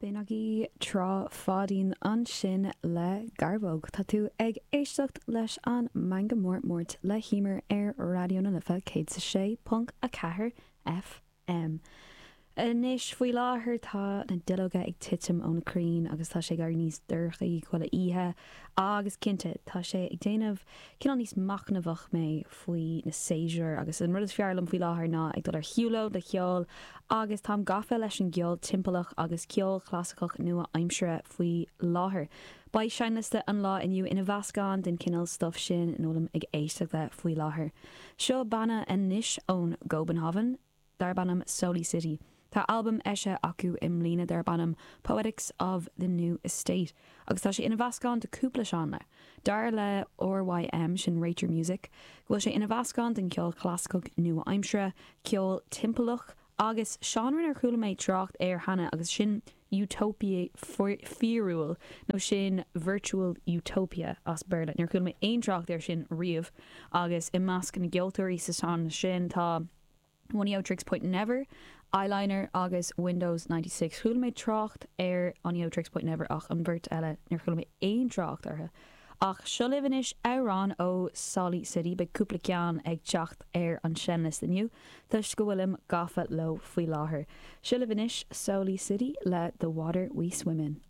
B'in agaibh Trá Pháidín ansin le Garbhóg. Tá tú ag éisteacht leis an Meangadh Mór Máirt le hEmer ar Raidió na Life 106.4 FM. Anois, faoi láthair tá na duilleoga ag titim ó na crainn agus tá sé ag éirí níos dorchaí chuile oíche agus cinnte, tá sé ag déanamh cineál níos machnamhach mé faoi na séasúir agus an rud is fearr liom faoi láthair ná ag dul ar shiúlóid le ceol agus táim gafa leis an gceol timpeallach agus ceol clasaiceach nua-aimseartha faoi láthair. Beidh seinnliosta an lá inniu ina mheascán den chineál stuif sin ina bhfuilim ag éisteacht le faoi láthair. Seo banna anois ón gCóbanhávan darb ainm Soli City. Tá albam eisithe acu i mbliana darb ainm Poetics of the New Estate agus tá sé ina mheascán de cúpla seánra. Dar le RYM, sin Rate Your Music, go bhfuil sé ina mheascán den cheol clasaiceach nua-aimseartha, ceol timpeallach agus seánra nár chuala mé trácht air cheana agus sin utopia fíorúil nó sin virtual utopia as Béarla. Níor chuala mé aon trácht air sin riamh agus i measc na gceoltóirí sa seánra sin tá Oneohtrix Point Never, Eyeliner agus Windows 96. Chuala mé trácht ar Oneohtrix Point Never ach an bheirt eile níor chuala mé aon trácht orthu. Ach seo libh anois amhrán ó Soli City, beidh cúpla ceann ag teacht ar an seinnliosta inniu toisc go bhfuilim gafa leo faoi láthair. Seo libh anois Soli City le The Water We Swim In.